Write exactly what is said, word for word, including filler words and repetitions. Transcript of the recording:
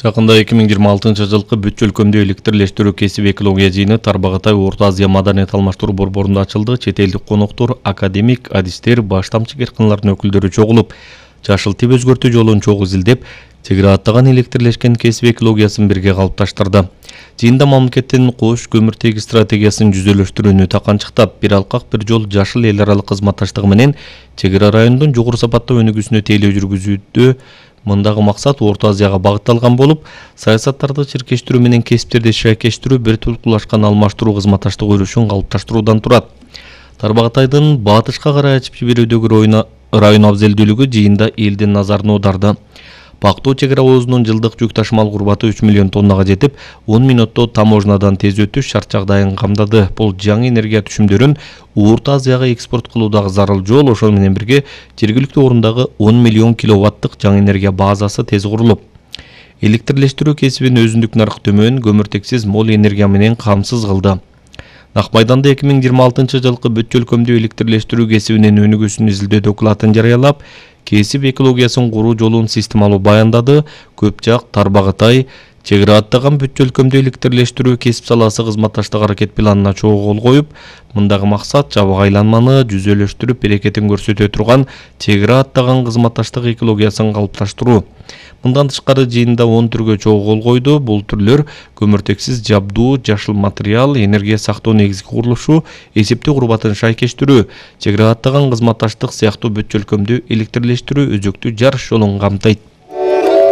Жакында эки миң жыйырма алтынчы жылкы бүт өлкөмдүү электрлештирүү кесип экология жыйыны Тарбагатай Орто Азия маданият алмаштыруу борборунда ачылды. Чет элдик коноктор, академик, адистер, баштамчы кыркыналардын өкүлдөрү чогулуп, жашыл тип өзгөртүү жолун чогуу изилдеп, чегара аттаган электрлешкен кесип экологиясын бирге калыпташтырды. Жыйында мамлекеттин кош көмүртеги стратегиясын жүзөлөштүрүүнү таканчыктап, бир алкак бир жол жашыл эл аралык кызматташтыгы менен чегара райондун жогору сапаттуу өнүгүүсүнө тейлөө жүргүзүүдө мындагы максат Орто Азияга багытталган болуп, саясаттарды чиркештирүү менен кесиптерди шайкештирүү, бир тулкулашкан алмаштыруу кызматташтык өрүшүн калыпташтыруудан турат. Тарбагатайдын батышка карай ачып жиберүүдөгү район абзелдүүлүгү жыйында элдин назарын аударды. Пактоо чегара оозунун жылдык жүк ташымал курбаты үч миллион тоннага жетип, он мүнөттө таможнядан тез өтүш шарт жагдайын камдады. Бул жаңы энергия түшүмдөрүн Орто Азияга экспорт кылуудагы зарыл жол, ошол менен бирге жергиликтүү орундагы он миллион киловаттык жаңы энергия базасы тез курулуп, электрлештирүү кесибин өзүндүк нарк төмөн, көмүртексиз мол энергия менен камсыз кылды. Нак майданда эки миң жыйырма алтынчы жылкы бүт өлкөмдүү электрлештирүү кесибинин өнүгүүсүн изилдөө докладын жарыялап, кесип экологиясын куруу жолун системалуу баяндады. Көп жак Тарбагатай чегара аттаган бүт өлкөмдүү электрлештирүү кесип саласы кызматташтык аракет планына чогуу кол коюп, мындагы максат жабык айланманы жүзөлөштүрүп берекетин көрсөтө турган чегара аттаган кызматташтык экологиясын калыпташтыруу. Мындан тышкары жыйында он түргө чогуу кол койду. Бул түрлөр көмүртексиз жабдуу, жашыл материал, энергия сактоо негизги курулушу, эсептөө курбатын шайкештирүү, чегара аттаган кызматташтык сыяктуу бүт өлкөмдүү электрлештирүү өзөктүү жарыш жолун камтыйт.